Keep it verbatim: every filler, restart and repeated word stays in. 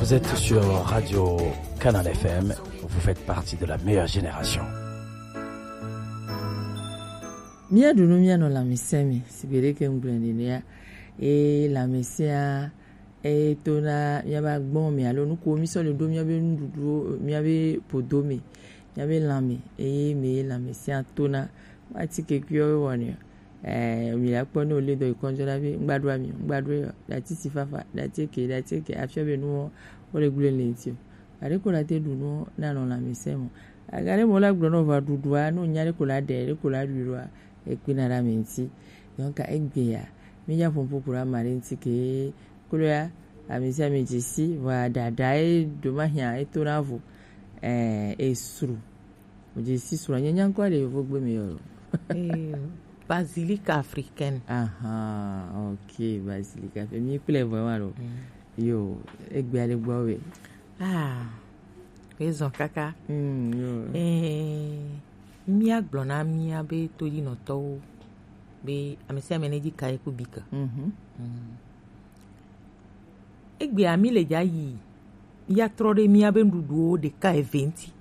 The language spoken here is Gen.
Vous êtes sur Radio Canal F M, vous faites partie de la meilleure génération. Míaɖu nu míanɔ lãmesẽ me, sigbe ɖe ke ŋgblɔe nenea, eye lãmesẽa etona míabe agbɔn me alo nukuwo mísɔ le ɖo míabe nuɖuɖuwo, míabe podo me, míabe lã me, eye me lãmesẽa tona. Atike kuiwo wɔnɛ. Eh, mi la kpɔ ne wòle dɔ yi kɔnjɔ la be, ŋgba ɖo ami, ŋgba ɖo yɔ, ɖati si fafa, ɖati eke, ɖati eke, afia be nuwo wole gblẽ le ŋuti o. Aɖe ko la te ɖu nuwo nanɔ lãmesẽ mo. Aga ɖe mo la gblɔ nɔ va ɖuɖua, no nya ɖe ko la ɖe, ɖe ko la ɖui ɖoa, ekpena ɖe ame ŋuti. Donc, egbea, mi nya ƒoƒo ku ɖe ame aɖe ŋuti ke, klo ya, ame sia ame dze si, vɔa ɖaɖa ye ɖo ma hiã, etona vo, eh, esru. Wodze si srɔ̃ nye nya ŋkɔ le yovogbe me yɔ lo. Eh, basilic africaine. Aha, ok, basilic africaine. Mi kple vɔ wa lo. Mm. Yo, egbea le gbɔ we. Ah, ezɔ kaka. Mm, yo. Eh, míagblɔ na míabe todinɔtɔwo be ame sia ame nedzi kaye ku bike. Mhm. Mm. Egbea mi le dza yi ya trɔ ɖe míabe nuɖuɖuwo ɖeka eve ŋuti.